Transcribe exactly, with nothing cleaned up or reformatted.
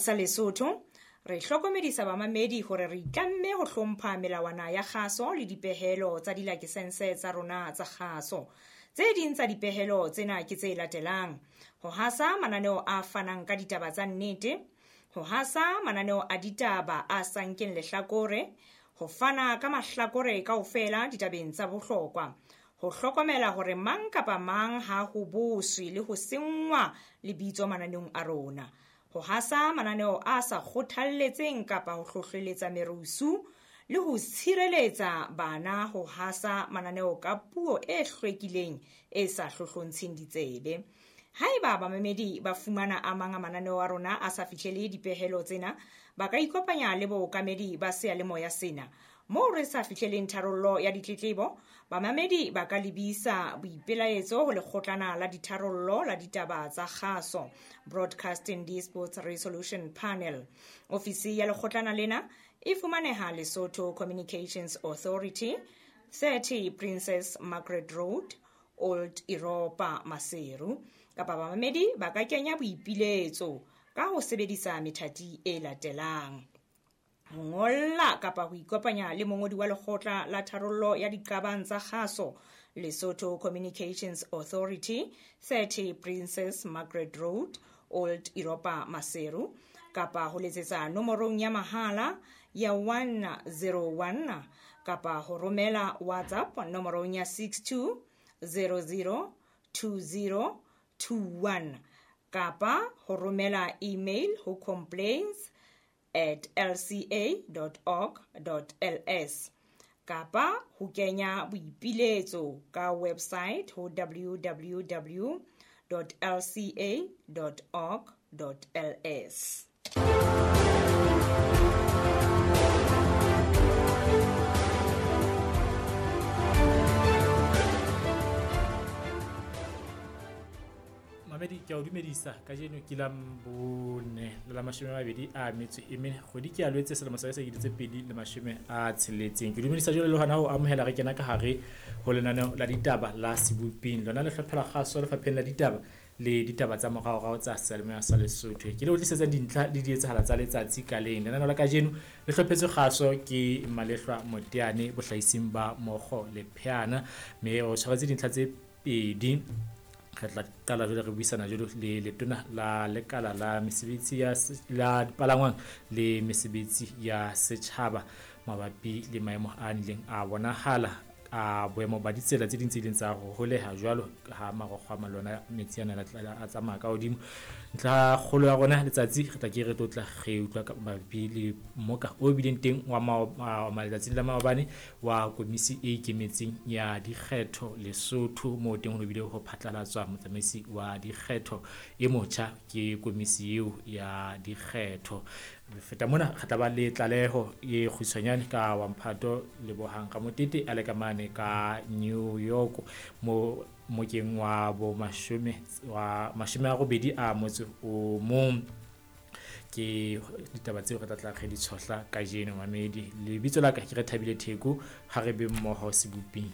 Sa Lesotho re hlokomedisa bamamedi hore re itlamme ho hlompha melawana ya kgaso le dipehelo tsa dilakesense tsa rona tsa kgaso. Tse ding tsa dipehelo tsena ke tse latelang: ho hasa mananeo a fanang ka ditaba tsa nnete, ho hasa mananeo a ditaba a sa nkeng lehlakore, ho fana ka mahlakore kaofela ditabeng tsa bohlokwa, ho hlokomela hore mang kapa mang ha ho boswe le ho senngwa lebitso mananeong a rona, ho hasa mananeo a sa kgothalletseng kapa ho hlohleletsa merusu le ho tshireletsa bana ho hasa mananeo ka puo e hlwekileng e sa hlohlontsheng ditsebe. Haeba bamamedi ba fumana a mang a mananeo a rona a sa fihlele dipehelo tsena, ba ka ikopanya le bookamedi ba seyalemoya sena. Moo re sa fihleleng tharollo ya ditletlebo, bamamedi ba ka lebisa boipelaetso ho lekgotlana la ditharollo la ditaba tsa kgaso, Broadcasting Disputes Resolution Panel. Ofisi ya lekgotlana lena e fumaneha Lesotho Communications Authority, thirty Princess Margaret Road, Old Europa, Maseru. Kapa bamamedi ba ka kenya boipiletso ka ho sebedisa methati e latelang: ho ngolla kapa ho ikopanya le mongodi wa lekgotla la tharollo ya diqabang tsa kgaso, Lesotho Communications Authority, thirty Princess Margaret Road, Old Europa, Maseru, kapa ho letsetsa nomorong ya mahala ya one zero one kapa ho romela WhatsApp nomorong ya six two zero zero two zero two one kapa ho romela email ho complaints at l c a dot org dot l s kapa ho kenya boipiletso ka website ho w w w dot l c a dot org dot l s. Mamedi, ke a o dumedisa. Kajeno ke la bone le la mashome a mabedi a metso e mene, kgwedi ke a Lwetse selemo sa sekete tse pedi le mashome a tsheletseng. Ke dumedisa jwale le hona ho amohela re kena ka hare ho lenaneo la ditaba la Seboping, lona le hlopha la kgaso lefapheng la ditaba le ditaba tsa moraorao tsa seyalemoya sa Lesotho. Ke le o tlisetsang dintlha le dietsahala tsa letsatsi ka leng. Lenaneo la kajeno le hlophetswe kgaso ke Malehlwa Moteane bohlahising ba Mokgo le Pheana, mme o tshwaretse dintlha tse pedi. Re tla qala jwale re buisana jwalo le letona la lekala la mesebetsi ya la dipalangwang le mesebetsi ya setjhaba mabapi le maemo a nileng a bonahala a boemo ba ditsela tse ding tse ileng tsa ho holeha jwalo ha marokgo a malona metsi ana a tsamaya ka hodimo. Ntlha kgolo ya rona letsatsi re tla ke re tlo tla re utlwa ka mabapi le mmoka o bileng teng wa maletsatsing la maobane wa komisi e ikemetseng ya dikgetho Lesotho, moo teng ho bile ho phatlalatswa motsamaisi wa dikgetho e motjha ke komisi eo ya dikgetho. Feta mona re tla ba le tlaleho e kgutshwanyane ka wa Mphato Lebohang Ramotete a le ka mane ka New York mo mokeng wa bo mashome wa mashome a robedi a motse o mong. Ke ditaba tseo re tla tla re di tshohla kajeno mamedi. Lebitso la ka ke Rethabile Theko, ha re be mmoho Seboping.